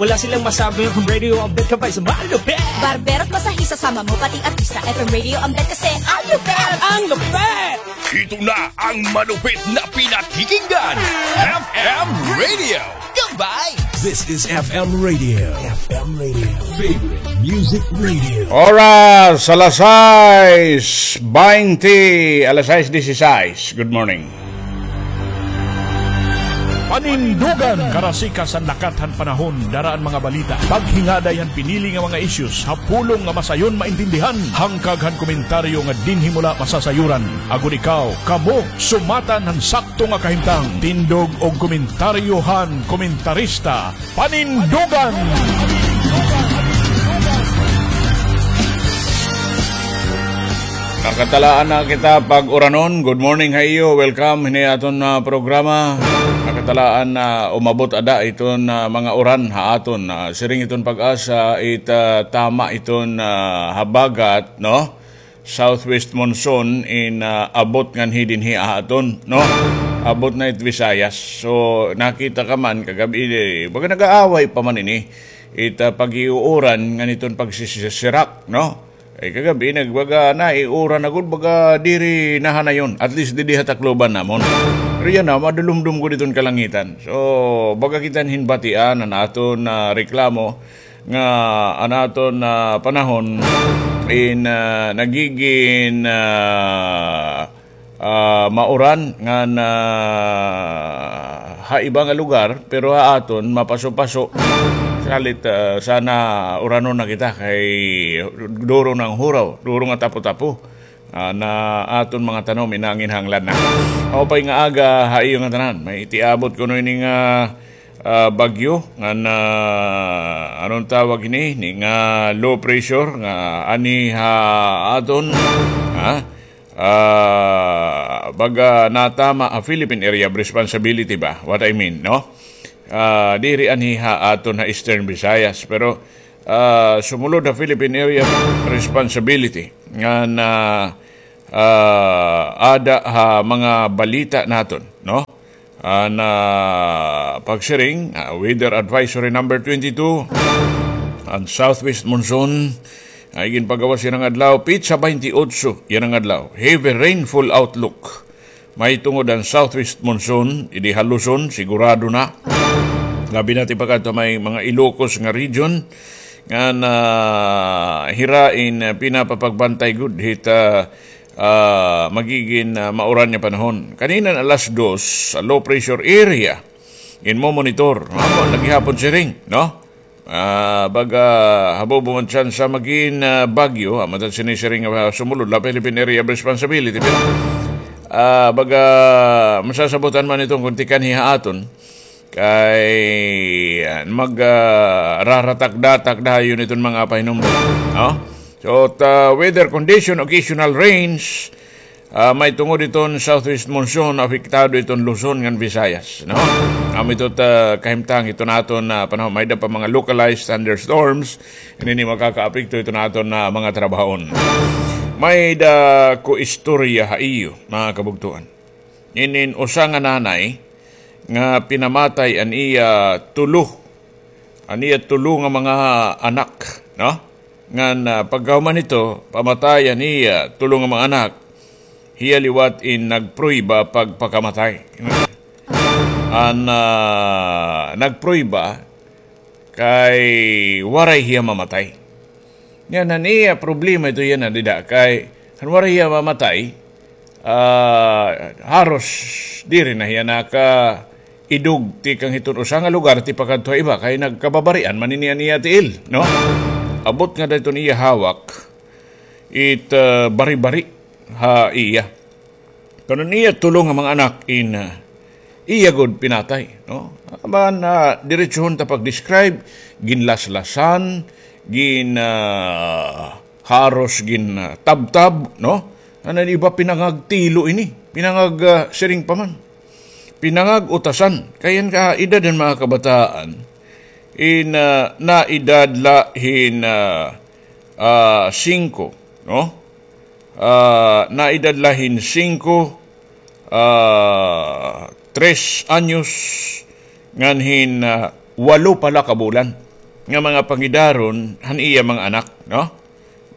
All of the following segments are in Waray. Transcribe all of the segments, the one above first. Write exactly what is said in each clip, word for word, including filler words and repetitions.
Wala silang masabi, F M Radio ang bet ka pa sa malupit. Barbero at masahista, sama mo pati artista, F M Radio ang bet kasi ang lupit! Ang lupit! Ito na ang malupit na pinakikinggan, F M Radio. Goodbye! This is F M Radio. F M Radio. Favorite music radio. Oras, alas sais baynte, alas sais disisais. Good morning. Panindugan, karasikas han lakat han panahon, dara an mga balita. Paghingaday han pinili nga mga issues, ha pulong nga masayon maintindihan, hangkag han komentaryo nga dinhi mo la masasayuran. Agod ikaw, kamo, sumatan han sakto nga kahimtang, tindog og komentaryo han komentarista. Panindugan! Nakatalaan na kita pag-uranon. Good morning ha iyo. Welcome hini aton, ah, programa. Nakatalaan na umabot ada iton, ah, mga uran ha aton. Ah, siring iton PAGASA, it, ah, tama iton, ah, habagat, no? Southwest monsoon in, ah, abot nganhi dinhi ha aton, no? Abot na it Visayas. So, nakita ka man kagab-i, eh, baga nag-aaway pa man ini. It, ah, pag-iuuran ngan iton pagsisisirak, no? Ay, kagab-i nagbaga na, iuran na gud, baga diri nahanayon. At least didi ha Tacloban namon. Pero yana, madulumdom gud iton kalangitan. So, baga kita hin batian an aton, ah, reklamo nga an aton, ah, panahon in, ah, nagigin, ah, ah, mauran ngan, ah, ha iba nga lugar, pero ha aton mapaso-paso. Salit, ah, sana uranon na kita kay duro na an huraw, duro nga tapo-tapo. Ah, na aton mga tanom inanginhanglan na. Maupay nga aga ha iyo ngatanan. May itiabot kuno ini nga, ah, bagyo ngan, ah, ano an tawag ini? Ini nga low pressure nga anhi ha aton, ha? Ah, baga natama ha Philippine Area of Responsibility ba? What I mean, no? Ah, diri anhi ha aton ha Eastern Visayas, pero, ah, sumulod ha Philippine Area of Responsibility ngan, ah, ada ha mga balita naton, no? An, ah, pagsiring, ah, Weather Advisory number twenty-two, an southwest monsoon, ay ginpagawas yana nga adlaw, petsa baynte otso yana nga adlaw. Heavy rainfall outlook. Mahitungod an southwest monsoon, idi ha Luzon, sigurado na. Labi na tipakadto ha may mga Ilocos nga region, ngan hira in, ah, pinapapagbantay gud hit, ah, ah, magigin, ah, mauran nga panahon. Kanina alas dos, sa low pressure area, ginmomonitor. Amo, lagi hapon siring, no? Ah, baga, habobo man tsansa magin, ah, bagyo, amo ta sinisiring nga sumulod la Philippine Area of Responsibility. Pero, ah, baga, masasabotan man iton kon tikanhi ha aton. Kay, ah, mag, ah, raratak-datak dayon iton mga pahinumdom, no? So, ta, weather condition, occasional rains, ah, mahitungod iton southwest monsoon, apektado iton Luzon ngan Visayas, no? Amo ito ta kahimtang iton aton, ah, panahon, may-ada pa mga localized thunderstorms, ini makakaapekto iton aton, ah, mga trabahoon. May-ada ko istorya ha iyo, mga kabugtoan. Inin usa nga nanay nga pinamatay an iya tulo, an iya tulo nga mga anak, no? Ngan, ah, pagkahuman hito, pamatay an iya tulo nga mga anak, hiya liwat in nagprueba pagpakamatay. An, ah, nagprueba kay waray hiya mamatay. Yana an iya problema ito yana dida kay han waray hiya mamatay, ah, haros diri na hiya nakaidog tikang hiton usa nga lugar tipakadto ha iba kay nagkababarian man ini an iya tiil, no? Abot nga dida hiton iya hawak it, ah, bari-bari ha iya. Kanan iya tulo nga mga anak in, ah, iya gud pinatay, no? Aban, ah, diretsohon ta pag-describe, ginlaslasan, gin, ah, haros gin, ah, tabtab, no? An iba pinangagtilo ini, pinangag, ah, siring pa man. Pinangag-utasan, kay an kaedad han mga kabataan, in, ah, naedad la hin, ah, ah, singko, no? Ah, naedad la hin singko, ah, tres anyos, ngan hin, ah, walo pa la ka bulan. nga mga pangidaron han iya mga anak, no?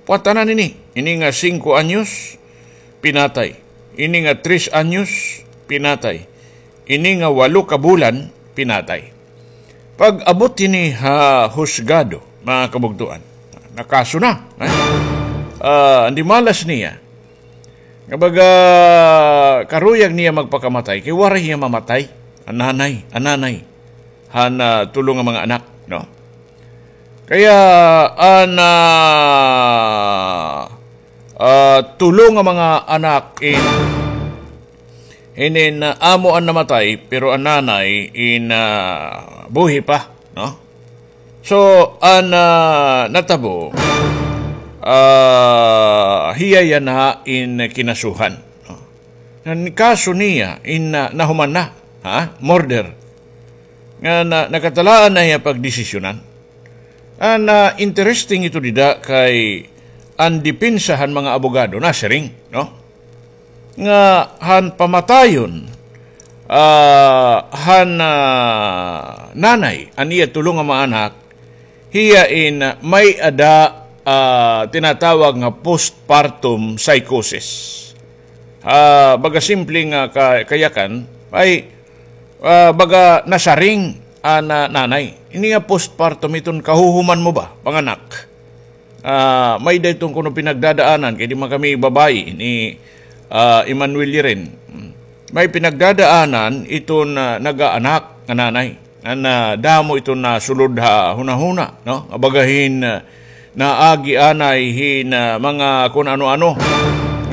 Puwatanan ini, ini nga singko anyos, pinatay. Ini nga tres anyos, pinatay. Ini nga walo ka bulan, pinatay. Pag-abot ini ha husgado, mga kabugtoan, nakaso na, eh? Ah, an dimalas niya, nga baga karuyag niya magpakamatay, kay waray hiya mamatay. An nanay, an nanay han, ah, tulo nga mga anak, no? Kaya an, ah, ah, tulo nga mga anak in, inin, ah, amo an namatay, pero an nanay in, ah, buhi pa, no? So, an, ah, natabo, ah, hiya yana in kinasuhan, no? An kaso niya in, ah, nahuman na, ha? Murder. Nga na, nakatalaan na hiya pagdesisyonan. An, ah, interesting ito dida kay an depensa han mga abogado nasiring, no? Nga han pamatayon, ah, han, ah, nanay, an iya tulo nga mga anak, hiya in, ah, may-ada, ah, tinatawag nga postpartum psychosis. Ah, baga simple nga ka-, kayakan, ay, ah, baga nasaring an, ah, nanay. Ini nga postpartum, iton kahuhuman mo ba, panganak? Ah, may-ada iton kuno pinagdadaanan, kay di man kami babayi ni, ah, Emmanuel Liren. May pinagdadaanan iton, ah, nagaanak nga nanay. Nga nadamo iton nasulod ha hunahuna, no? Nga baga hin, ah, naagi anay hin, ah, mga kun ano-ano,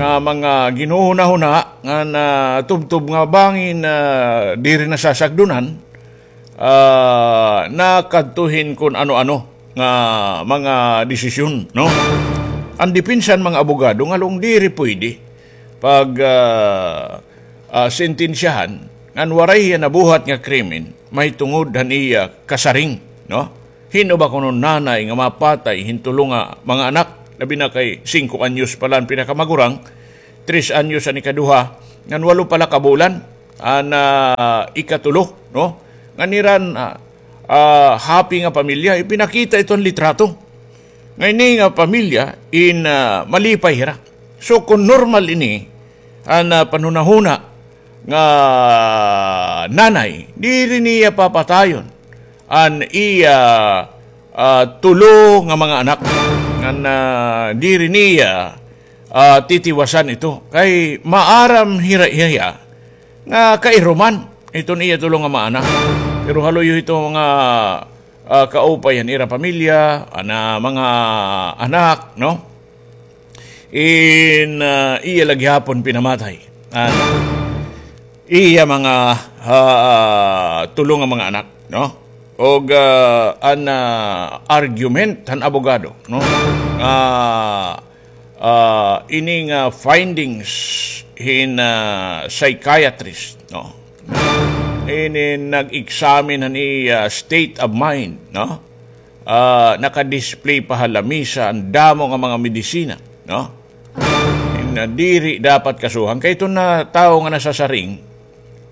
nga mga ginhuhunahuna, nga natubtob nga bangin, ah, diri nasasagdonan, ah, nakadto hin kun ano-ano nga mga desisyon, no? An depensa han mga abogado ngalong diri pwede pag, ah, ah, sentensyahan ngan waray hiya nabuhat nga krimen mahitungod han iya kasaring, no? Hin-o ba kuno nanay nga mapatay hin tulo nga mga anak, labi na kay singko anyos pa la an pinakamagurang, tres anyos an ikaduha, ngan walo pa la ka bulan an, ah, ikatulo, no? Ngan ira, ah, ah, happy nga pamilya, ipinakita iton litrato. Nga ini nga pamilya in, ah, malipay hira. So, kun normal ini, an, ah, panhunahuna nga nanay, diri niya papatayon an iya, ah, tulo nga mga anak. Ngan, ah, diri niya, ah, titiwasan ito. Kay maaram hira hiya nga kairuman iton iya tulo nga mga anak. Pero haluyo ito nga, ah, kaupay han ira pamilya, an, ah, mga anak, no? In, ah, iya la gihapon pinamatay an iya mga, ah, tulo nga mga anak, no? Og, ah, an, ah, argument han abogado, no? Ah, ah, ini nga findings hin, ah, psychiatrist, no? Ini nag-examine han iya state of mind, no? Ah, naka-display pa ha lamisa an damo nga mga medisina, no? Nga diri dapat kasuhan. Kay iton nga tawo nga nasasaring,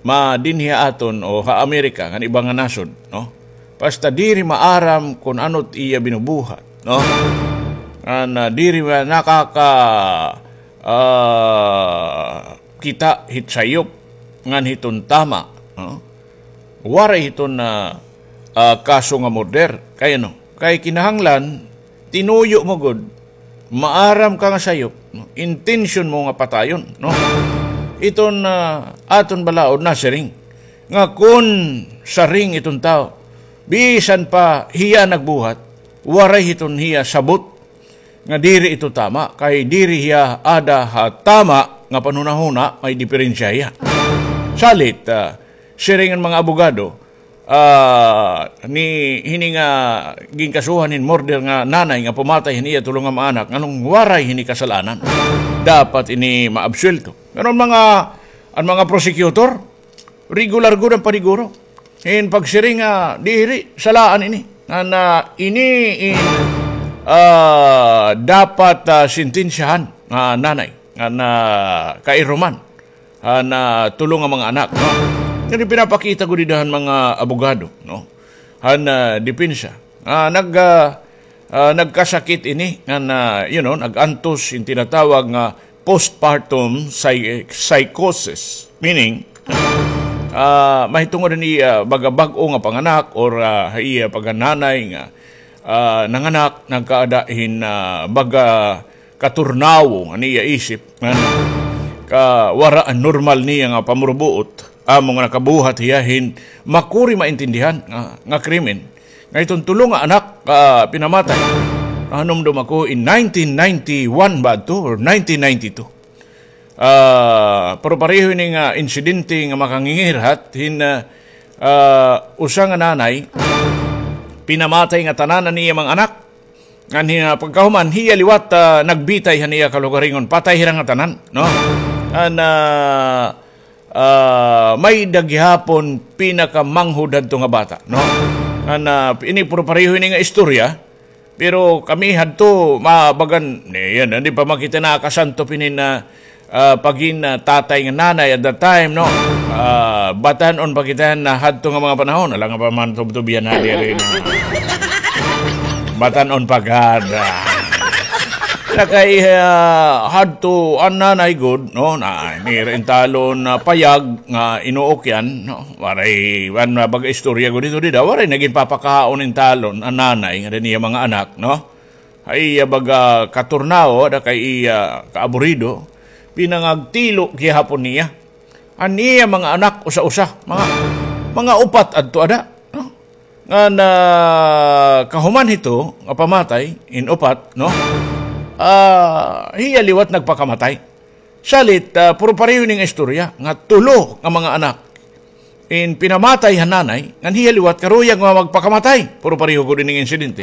ma dinhi ha aton o ha Amerika, ngan iba nga nasod, no? Basta diri maaram kun ano it iya binubuhat, no? Ngan diri ma-, nakaka-, ah, kita hit sayop, ngan hiton tama, no? Waray hiton, ah, ah, kaso nga murder. Kay ano? Kay kinahanglan, tinuyo mo gud, maaram ka nga sayop, no? Intensyon mo nga patayon, no? Iton, ah, aton balaod nasiring nga kun saring iton tawo, bisan pa hiya nagbuhat, waray hiton hiya sabot nga diri ito tama, kay diri hiya ada ha tama nga panhunahuna, may diperensya hiya. Salit, ah, siring han mga abogado, ah, ni hini nga ginkasuhan hin murder nga nanay nga pumatay hin iya tulo nga mga anak, nganong waray hini kasal-anan, dapat ini maabsuwelto. Pero an mga, an mga prosecutor, regular gud an paniguro. In pagsiring nga diri, salaan ini. Nga na ini in, ah, dapat, ah, sentensyahan nga nanay, nga na kairuman. Ah, na tulo nga mga anak, no? Kani pinapakita gud dida han mga abogado, no? Han, ah, depensa. Ah, nag, ah, ah, nagkasakit ini nga na, you know, nag-antos in tinatawag nga postpartum psy-, psychosis. Meaning, ah, mahitungod ini, ah, baga bag-o nga panganak or, ah, iya pagkananay nga, ah, nanganak, nagkaada hin, ah, baga katurnawo nga niya isip, nga ka wara an normal niya nga pamurubuot, amo nga nakabuhat hiya hin makuri maintindihan nga, nga krimen. Nga iton tulo nga anak, ah, pinamatay. Nahanumdom ako in nineteen ninety-one ba adto or nineteen ninety-two. Ah, pero pareho ini nga insidente nga makangingirhat hin, ah, ah, usa nga nanay, pinamatay nga tanan an iya mga anak. Ngan hin, ah, pagkahuman, hiya liwat, ah, nagbitay han iya kalugaringon. Patay hira nga tanan, no? An, ah, ah, may-ada gihapon pinakamanghod hadto nga bata, no? An, ah, ini puro pareho ini nga istorya, pero kami hadto, mabagan, ni, yan, di pa man kita nakasantop hini nga, ah, pagin, ah, tatay nga nanay at that time, no? Ah, batan-on pa kita na hadto nga mga panahon, ala nga pa man tubtub yana diri na. Batan-on pa gad. Nakay, ah, hadto an nanay gud, no? Na, nira intalon na payag nga inuok yan, no? Waray, an baga istorya gud ito dida, waray nagin papakaon intalon an nanay nga niya mga anak, no? Ay, iya baga katurnawo, ada kay iya kaaburido, pinangagtilo gihapon niya. An iya mga anak, usa-usa, mga, mga upat adto ada, no? Nga na kahuman hito, nga pamatay, in upat, no? Ah, hiya liwat nagpakamatay. Salit, ah, puro pareho ini nga istorya, nga tulo nga mga anak. In pinamatay han nanay, ngan hiya liwat karuyag nga magpakamatay. Puro pareho gud ining insidente.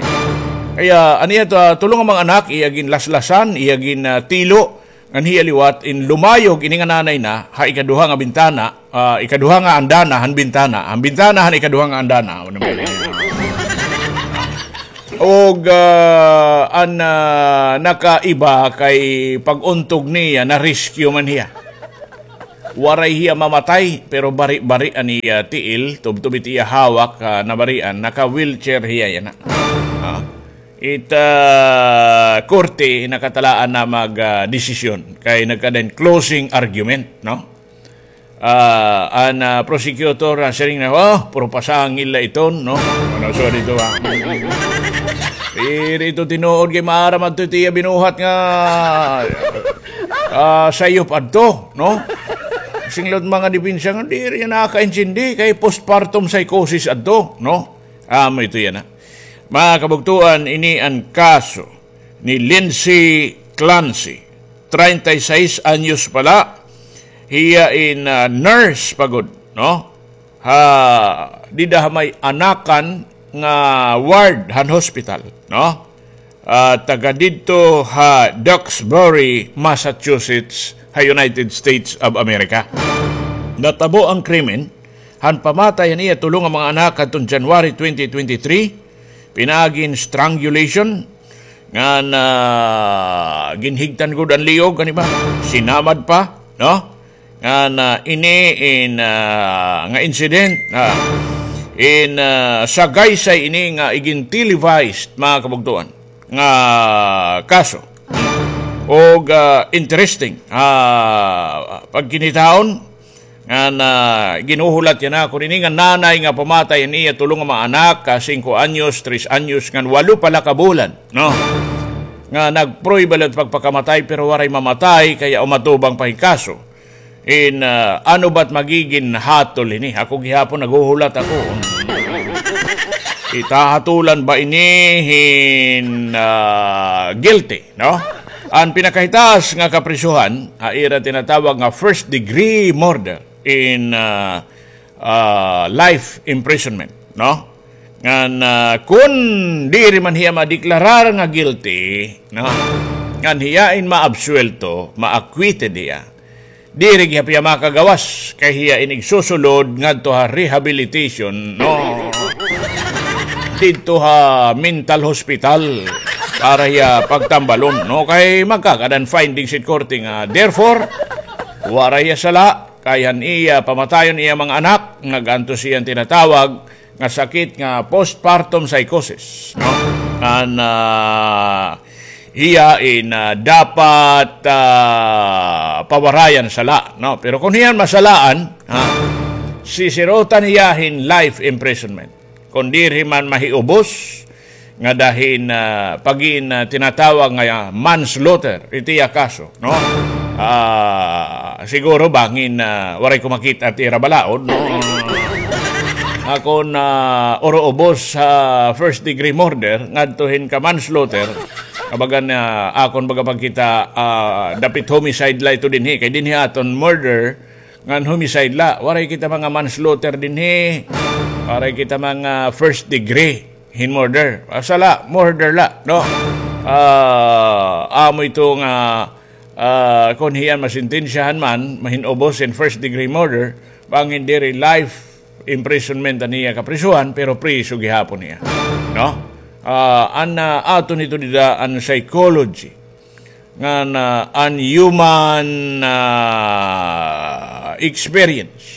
Kaya, an iya to, ah, tulo nga mga anak, iya ginlaslasan, iya gin, ah, tilo, ngan hiya liwat, in lumayog ini nga nanay na, ha ikaduha nga bintana, ah, ikaduha nga andana, han bintana, han bintana, han ikaduha nga andana. Ano ba yun? Og, ah, an, ah, nakaiba kay pag-untog niya, na-rescue man hiya. Waray hiya mamatay, pero bari-bari an iya tiil, tubtob it iya hawak, ah, nabarian, naka-wheelchair hiya yana. Ah. It, ah, korte, nakatalaan na mag, ah, desisyon. Kay nagkada hin closing argument, no? Ah, an, ah, prosecutor, ah, siring na, "Oh, puro pasangil la iton, no?" Ano, so dito, ah. Diri ito tinuod kay maaram adto it iya binuhat nga, ah, sayop adto, no? Singlot mga depensa nga, diri niya nakaintindi kay postpartum psychosis adto, no? Amo ito yana, ah. Mga kabugtuan, ini an kaso ni Lindsay Clancy, treinta y seis anyos pa la, hiya in, ah, nurse pa gud, no? Ha, dida ha may anakan nga ward han hospital, no? Ah, taga didto ha Duxbury, Massachusetts, ha United States of America. Natabo an krimen han pamatay han iya tulo nga mga anak hadton January twenty twenty-three, pinaagi hin strangulation, ngan, ah, ginhigtan gud an liog, ano ba? Sinamad pa, no? Ngan, ah, ini in, ah, nga incident, ah, in, ah, sagaysay ini nga igin-televised, mga kabugtuan, nga kaso. Og, ah, interesting, ah, pagkinitaon, ngan, ah, ginhuhulat yana ako ini nga nanay nga pamatay an iya tulo nga mga anak, ah, singko anyos, tres anyos, ngan walo pa la ka bulan, no? Nga nagprueba la pagpakamatay, pero waray mamatay, kaya umatubang pa hin kaso. In, ah, ano ba't magigin hatol ini? Ako gihapon naghuhulat ako. Itahatulan ba ini hin, ah, guilty, no? An pinakahitaas nga kaprisohan, ha ira tinatawag nga first degree murder in, ah, ah, life imprisonment, no? Ngan, ah, kun diri man hiya madeklarar nga guilty, no? Ngan hiya in maabsuwelto, ma-acquitted hiya. Diri gihap hiya makagawas, kay hiya in igsusulod ngadto ha rehabilitation, no? Didto ha mental hospital para hiya pagtambalon, no? Kay magkakada hin findings it korte nga, therefore, waray hiya sala, kay han iya pamatayon iya mga anak, nag-antos hiya hin tinatawag nga sakit nga postpartum psychosis, no? An, ah, hiya in, ah, dapat, ah, pawarayan sala, no? Pero kon hiya masalaan, ha, sisirutan hiya hin life imprisonment. Kon diri man mahiubos, nga dahin, ah, pagin, ah, tinatawag nga manslaughter, iti iya kaso, no? Ah, siguro bangin, ah, waray ko makita it ira balaod, no? Akon, ah, uruubos sa first degree murder, ngadto hin ka manslaughter, kabagan, ah, akon baga pagkita, ah, dapit homicide la ito dinhi, kay dinhi aton murder, ngan homicide la. Waray kita mga manslaughter dinhi. Waray kita mga first degree hin murder. Asa la, murder la, no? Ah, amo ito nga, ah, kon hiyan masintensyahan man, mahinubos in first degree murder, bangin diri life imprisonment an iya kaprisuhan, pero priso gihapon niya. No? Ah, an, ah, aton ito dida an psychology ngan, ah, an human, ah, experience.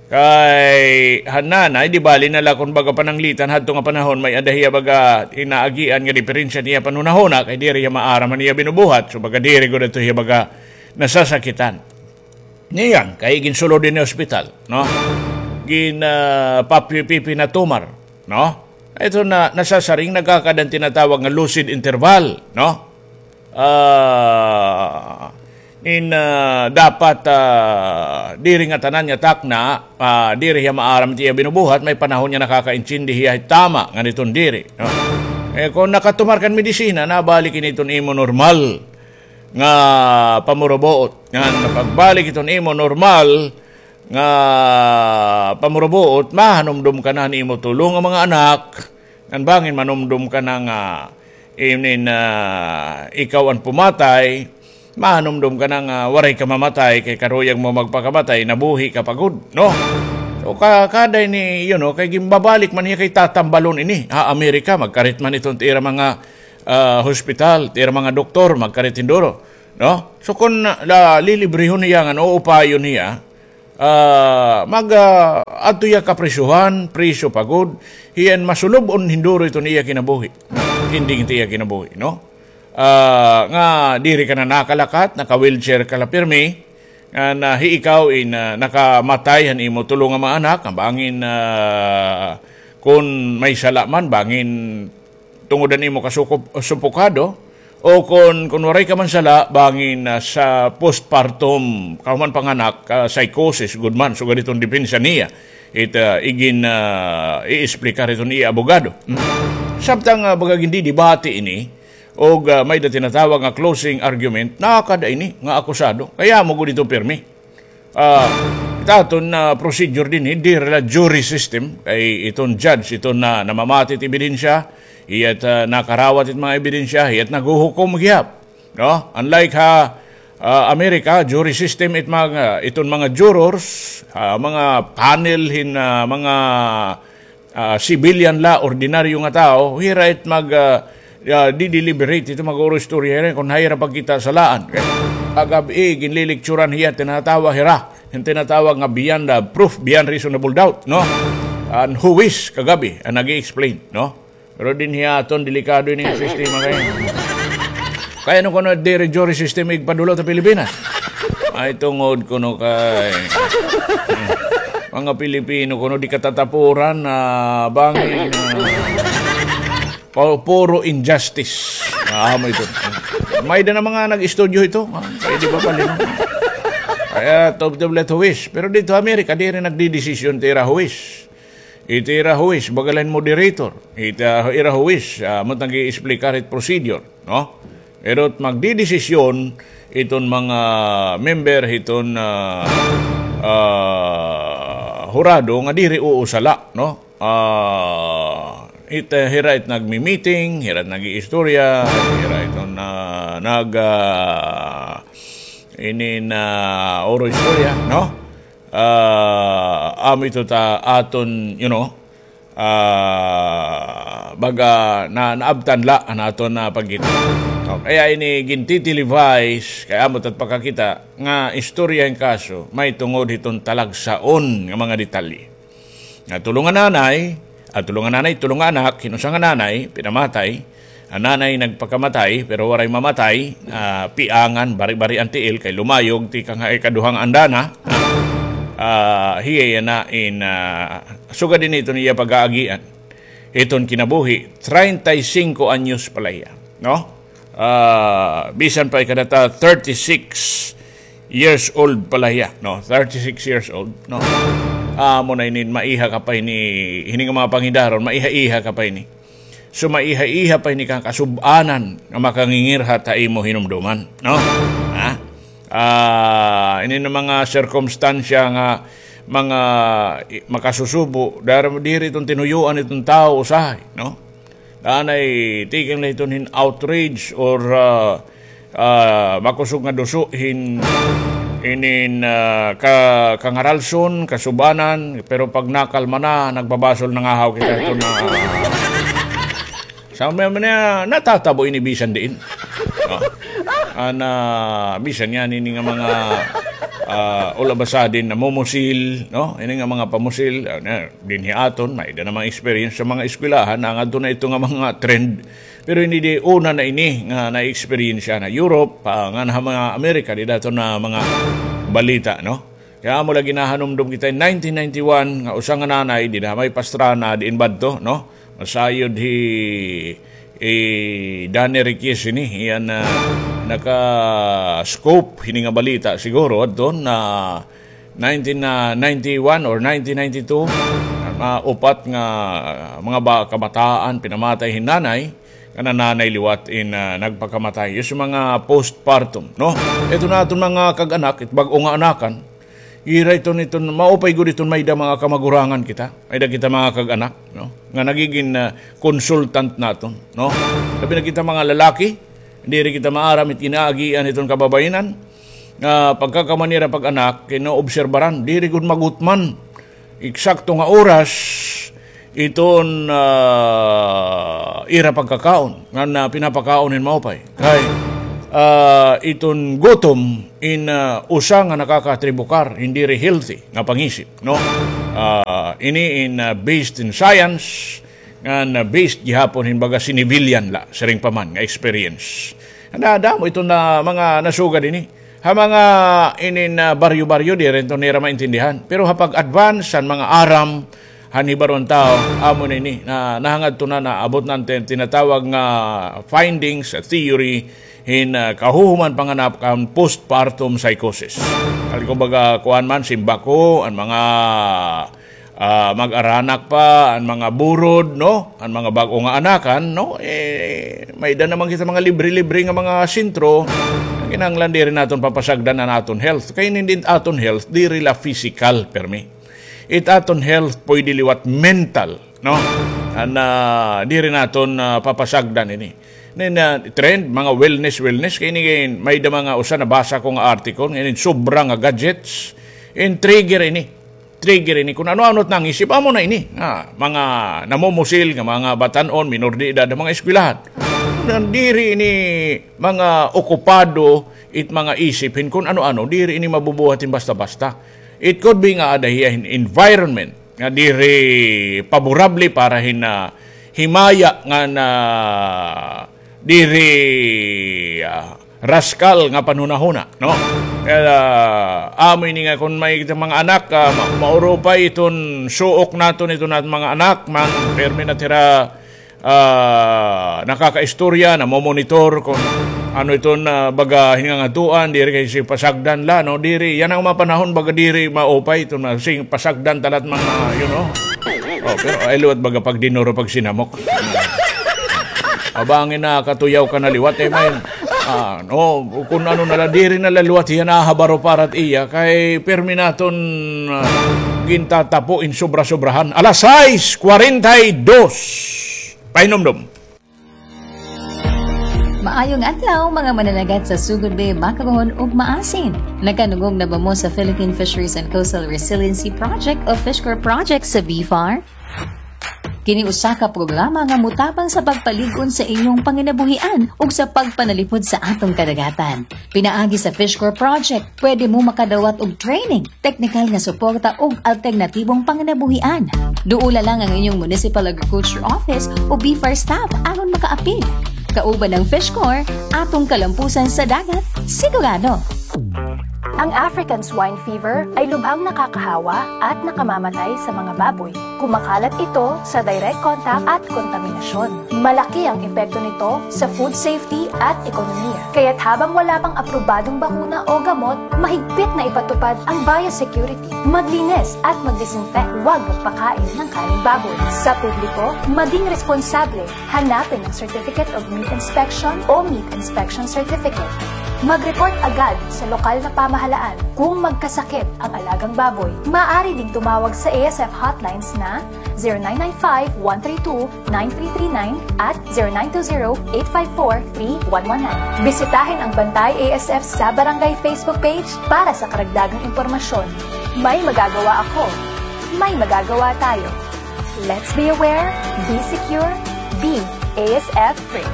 Kay han nanay, di bali na la kon baga pananglitan, hadto nga panahon may-ada hiya baga inaagian nga diperensya niya panhunahuna, kay diri hiya maaram han iya binubuhat, so baga diri gud adto hiya baga nasasakitan. Niyan, kay ginsulod ini ospital, no? Gin, ah, papi-, pipinatumar, no? Ito na, nasasaring nagkakaada an tinatawag nga lucid interval, no? Ah, in, ah, dapat, ah, diri ngatanan nga takna, ah, diri hiya maaram it iya binubuhat, may panahon nga nakakaintindi hiya tama, ngan iton diri, no? Eh, kon nakatumar ka hin medisina, nabalik ini iton imo normal nga pamurubuot. Ngan pagbalik iton imo normal nga pamurubuot, mahanumdom ka na han imo tulo nga mga anak, ngan bangin manumdom ka na nga inin, ah, ikaw an pumatay, mahanumdom ka na nga waray ka mamatay, kay karuyag mo magpakamatay, nabuhi ka pa gud, no? So, ka-, kada ini, you know, kay ginbabalik man hiya kay tatambalon ini ha Amerika, magkarit man iton it ira mga, ah, hospital, it ira mga doktor, magkarit hinduro, no? So, kon la, lilibrehon hiya ngan uupayon hiya, ah, mag, ah, adto hiya kaprisuhan, priso pa gud, hiya in masulub-on hinduro iton iya kinabuhi. Ending it iya kinabuhi, no? Ah, nga diri ka na nakalakat, naka-wheelchair ka la pirmi, ngan, ah, hi ikaw in, ah, nakamatay han imo tulo nga mga anak, nga bangin, ah, kon may sala man, bangin tungod han imo kasukup-, supukado, o kon, kon waray ka man sala, bangin, ah, sa postpartum, kahuman panganak, ah, psychosis, gud man, sugad iton depensa niya, it, ah, igin, ah, i-explicar iton iya abogado. Hmm. Samtang, ah, baga gindidibati ini, og, ah, may-ada tinatawag nga closing argument, nakada ini nga akusado. Kay amo gud ito pirmi. Ah, it aton, ah, procedure dinhi, diri la jury system, kay iton judge, iton na, namamati it ebidensya, hiya't, ah, nakarawat it mga ebidensya, hiya't naghuhukom gihap, no? Unlike ha, ah, Amerika, jury system it mga, iton mga jurors, ah, mga panel hin, ah, mga ah, civilian la, ordinaryo nga tawo, hira it mag, ah, ah, di-deliberate, ito mag-uuro istorya, hira kon hira pagkita salaan. Kay kagab-i, ginlilikturan hiya, tinatawag hira, an tinatawag nga beyond, ah, proof, beyond reasonable doubt, no? An huwis, kagab-i, an nag-i-explain, no? Pero dinhi aton, delikado ini nga sistema kay. Kay ano kuno diri jury system igpadulot ha Pilipinas? Ay, tungod kuno kay, hmm, mga Pilipino kuno di katatapuran, ah, bangin, ah, pu-, puro injustice. Ah, amo ito. May-ada na mga nag-estudyo ito. Ah, pwede ba pala? Kaya, tubtub la it huwis. Pero didto Amerika, diri nagdidesisyon it ira huwis. It ira huwis, baga la hin moderator. It, ah, ira huwis, ah, amo it nag-i-explicar it procedure, no? Pero it magdidesisyon iton mga member hiton, ah, ah, hurado nga diri uusala, no? Ah, it, ah, hira it nagmi-meeting, hira it nag-iistorya, hira iton, ah, nag, ah, inin, ah, uuro istorya, no? Ah, amo ito ta aton, you know, ah, baga na, naabtan la an aton, ah, pagkita. O, kaya ini gintitelevise, kay amo it at pakakita nga istorya hin kaso, may tungod hiton talagsaon nga mga detalye. Nga tulo nga nanay, ah, tulo nga nanay, tulo nga anak, hin usa nga nanay, pinamatay. An nanay nagpakamatay, pero waray mamatay, ah, piangan, bari-bari an tiil, kay lumayog, tikang ha ikaduha nga andana. Ah, hiya yana in, ah, sugad ini iton iya pag-aagian. Iton kinabuhi, treinta y cinco anyos pala hiya, no? Ah, bisan pa ikadata, thirty-six years old pala hiya, no? Thirty-six years old, no? Amo na ini, maiha ka pa ini, hini nga mga pangidaron, maiha-iha ka pa ini. So, maiha-iha pa ini ka kasub-anan nga makangingirhat ha imo hinumduman, no? Ha? Ah, ini na mga sirkumstansya nga mga i-, makasusubo, dar-, diri iton tinuyuan iton tawo usahay, no? Danay tikang la iton hin outrage or, ah, ah, makusog nga duso hin, inin, ah, ka-, kangaralson, kasub-anan, pero pag nakalma na, nagbabasol, nangahaw kita ito na. Sa mga, mga natatabo ini bisan diin. Oh. An, ah, bisan nga nini nga mga, ah, ula basa din namumusil, no? Ini nga mga pamusil, ah, na, dinhi aton, may-ada na mga experience sa mga eskwelahan, nangadto na ito nga mga trend. Pero ini di una na ini nga na-experience na Europe, ah, nga na mga Amerika, di dato na mga balita, no? Kaya amo lagi nahanumdom kita in nineteen ninety-one, nga usa nga nanay, di na may Pastrana, diin badto, no? Masayod hi, eh, Danny Riquez ini, iyan na naka-scoop, hini nga balita, siguro, adto na nineteen ninety-one or nineteen ninety-two, mga upat nga mga ba-, kabataan, pinamatay hin nanay, nga nanay liwat in, ah, nagpakamatay. Yung mga postpartum, no? Ito na aton mga kag-anak, it bag-o nga anakan, ira iton, iton, maupay gud iton may da mga kamagurangan kita. May da kita mga kag-anak, no? Nga nagiging, ah, consultant naton, no? Labi na kita mga lalaki, diri kita maaram it ginaagian iton kababayenan. Nga pagkakamanira pag-anak, kinaobserbaran, diri gud magutman. Eksakto nga oras, iton, ah, ira pagkakaon, nga na pinapakaon hin maupay. Kay, ah, iton gutom, in, ah, usa nga nakakatribukar, hindi ri healthy, nga pangisip, no? Ah, ini in, ah, based in science, nga na based gihapon hin baga civilian la, siring pa man nga experience. Nadamo ito na mga nasugad ini. Ha mga inin, ah, baryo-baryo, di rin to nira maintindihan. Pero ha pag-advance han mga aram, han hibaron tao, amo na ini, na nahangadto na naabot na an tin-, tinatawag nga findings, theory, hin, ah, kahuhuman panganap kan postpartum psychosis. Kali kumbaga, kuan man, simbako, an mga ah, mag-aranak pa, an mga burod, no? An mga bag-o nga anakan, no? Eh, may da naman kita mga libre-libre nga mga sentro, nga kinahanglan diri naton papasagdan an aton health. Kay hindi aton health, diri la physical, permi. It aton health, pwede liwat mental, no? An, ah, diri naton, ah, papasagdan ini. Nin, ah, trend, mga wellness, wellness, kay ini, may da mga usa nabasa ko nga article, nga ini, sobra nga gadgets, in trigger ini. Trigger ini kun ano-ano it nangisip, amo na ini. Nga, mga namumusil nga mga batan-on, minor de edad, mga eskwelahan. Nandiri ini mga okupado it mga isip hin kun ano-ano, diri ini mabubuhat hin basta-basta. It could be nga ada hiya hin environment nga diri paborable para hin, ah, himaya nga na diri, ah, raskal nga panhunahuna, no? Kaya, ah, amo ini nga kun may kita mga anak, ah, ma-, maurupay iton suok naton, iton naton mga anak, man, permi na tira, ah, nakakaistorya, namomonitor kun ano iton, ah, baga hingangaduan, diri kay si pasagdan la, no? Diri, yana nga mga panahon, baga diri maupay iton, ah, sing pasagdan talat mga, you know? Oh, pero ay liwat baga pagdinuro, pagsinamok. Abangin na katuyaw ka na liwat, eh, man. Ah, no, kun ano na la, diri na la liwat hiya nahabaro para it iya, kay permi naton, ah, gintatapo in sobra-sobrahan. Alas sais cuarenta y dos. Pahinumdom. Maayong adlaw, mga mananagat sa Sugod Bay, Macabon, ug Maasin. Nakanungog na ba mo sa Philippine Fisheries and Coastal Resiliency Project o Fishcor Project sa BFAR? Kini usa ka programa nga motabang sa pagpalig-on sa inyong panginabuhian ug sa pagpanalipod sa atong kadagatan. Pinaagi sa Fish Corps Project, pwede mo makadawat og training, teknikal nga suporta ug alternatibong panginabuhian. Duola lang ang inyong Municipal Agriculture Office o B F A R staff aron makaapil. Kauban ang Fish Corps, atong kalampusan sa dagat, sigurado. Ang African Swine Fever ay lubhang nakakahawa at nakamamatay sa mga baboy. Kumakalat ito sa direct contact at kontaminasyon. Malaki ang epekto nito sa food safety at ekonomiya. Kaya't habang wala pang aprobadong bakuna o gamot, mahigpit na ipatupad ang biosecurity. Maglinis at magdisinfect. Huwag magpakain ng karneng baboy. Sa publiko, maging responsable. Hanapin ang Certificate of Meat Inspection o Meat Inspection Certificate. Mag-report agad sa lokal na pamahalaan kung magkasakit ang alagang baboy. Maaari ding tumawag sa A S F hotlines na zero nine nine five, one three two, nine three three nine at zero nine two zero, eight five four, three one one nine. Bisitahin ang Bantay A S F sa Barangay Facebook page para sa karagdagang impormasyon. May magagawa ako. May magagawa tayo. Let's be aware, be secure, be A S F free.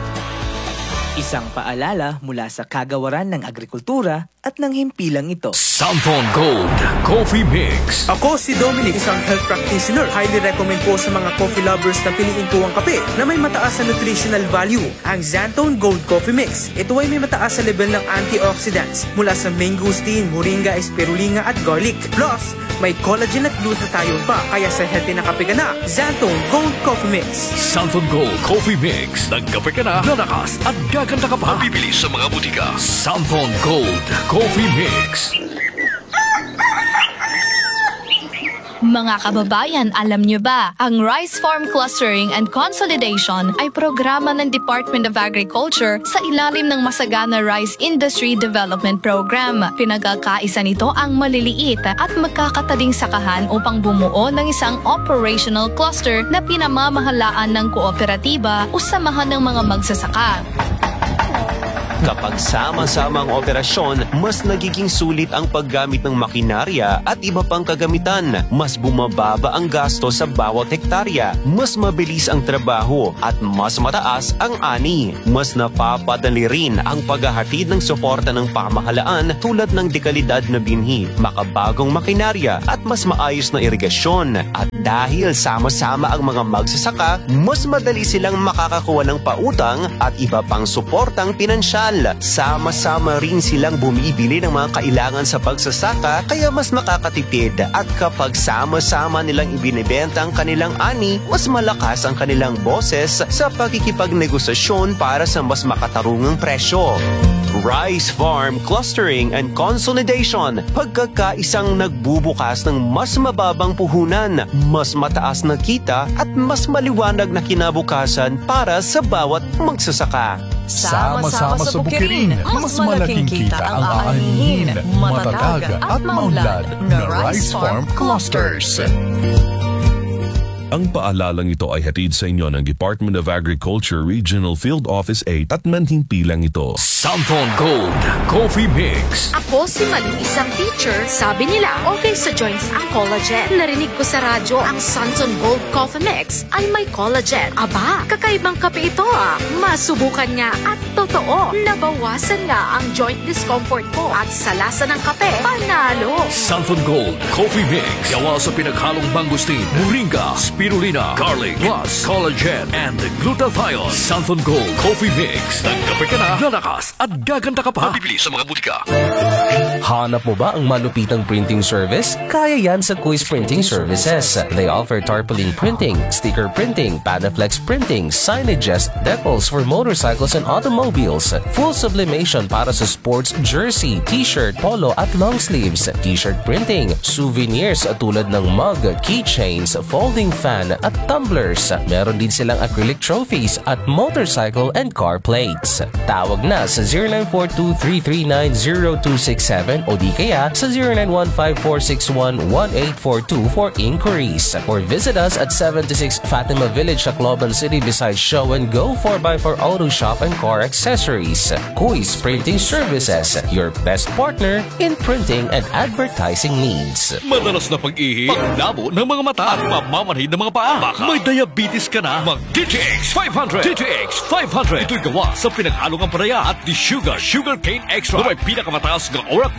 Isang paalala mula sa Kagawaran ng Agrikultura at ng himpilang ito. Santon Gold Coffee Mix. Ako si Dominic, isang health practitioner. Highly recommend po sa mga coffee lovers na piliin po ang kape na may mataas na nutritional value, ang Xanthone Gold Coffee Mix. Ito ay may mataas na level ng antioxidants mula sa mangosteen, moringa, spirulina at garlic. Plus, may collagen at glutathione pa, kaya sa healthy na kape ka na, Xanthone Gold Coffee Mix. Santon Gold Coffee Mix. Nagkape ka na, lalakas at gaganda ka pa. Mabibili sa mga butika. Santon Gold Coffee Mix. Mga kababayan, alam niyo ba, ang Rice Farm Clustering and Consolidation ay programa ng Department of Agriculture sa ilalim ng Masagana Rice Industry Development Program. Pinagkakaisa nito ang maliliit at magkakataling sakahan upang bumuo ng isang operational cluster na pinamamahalaan ng kooperatiba o samahan ng mga magsasaka. Kapag sama-sama ang operasyon, mas nagiging sulit ang paggamit ng makinarya at iba pang kagamitan. Mas bumababa ang gasto sa bawat hektarya, mas mabilis ang trabaho, at mas mataas ang ani. Mas napapadali rin ang paghahatid ng suporta ng pamahalaan tulad ng dekalidad na binhi, makabagong makinarya, at mas maayos na irigasyon. At dahil sama-sama ang mga magsasaka, mas madali silang makakakuha ng pautang at iba pang suportang pinansyal. Sama-sama rin silang bumibili ng mga kailangan sa pagsasaka, kaya mas nakakatipid. At kapag sama-sama nilang ibinebenta ang kanilang ani, mas malakas ang kanilang boses sa pakikipagnegosasyon para sa mas makatarungang presyo. Rice Farm Clustering and Consolidation, pagkakaisang nagbubukas ng mas mababang puhunan, mas mataas na kita at mas maliwanag na kinabukasan para sa bawat magsasaka. Sama-sama sa Bukirin, mas malaking kita ang aanihin, matatag at maunlad na Rice Farm Clusters. Ang paalalang ito ay hatid sa inyo ng Department of Agriculture Regional Field Office eight at ng himpilang ito. Santon Gold Coffee Mix. Ako si Malu, isang teacher. Sabi nila, okay sa joints ang collagen. Narinig ko sa radyo ang Santon Gold Coffee Mix ay may collagen. Aba, kakaibang kape ito ah. Masubukan nga at totoo, nabawasan nga ang joint discomfort ko at sa lasa ng kape, panalo. Santon Gold Coffee Mix. Gawa sa pinaghalong mangosteen, moringa, spirulina, garlic, plus collagen and glutathione. Santon Gold Coffee Mix. Nagkape ka na, lalakas at gaganda ka pa. Mabibili sa mga butika. Hanap mo ba ang malupitang printing service? Kaya yan sa Kuis Printing Services. They offer tarpaulin printing, sticker printing, Panaflex printing, signages, decals for motorcycles and automobiles, full sublimation para sa sports jersey, t-shirt, polo at long sleeves, t-shirt printing, souvenirs tulad ng mug, keychains, folding fan at tumblers. Meron din silang acrylic trophies at motorcycle and car plates. Tawag na sa zero nine four two three three nine zero two six seven o di kaya sa zero nine one five four six one one eight four two for inquiries. Or visit us at seventy-six Fatima Village, Tacloban City, beside Show and Go four by four Auto Shop and Car Accessories. Kuis Printing Services, your best partner in printing and advertising needs. Madalas na pag-ihi, panglabo ng mga mata, at pamamanhid Mga paa, baka may diabetes ka na, mag D T X five hundred. D T X five hundred. Ito'y gawa sa pinaghalo nga ampalaya at desugar, sugarcane extract, na may pinakamataas nga uric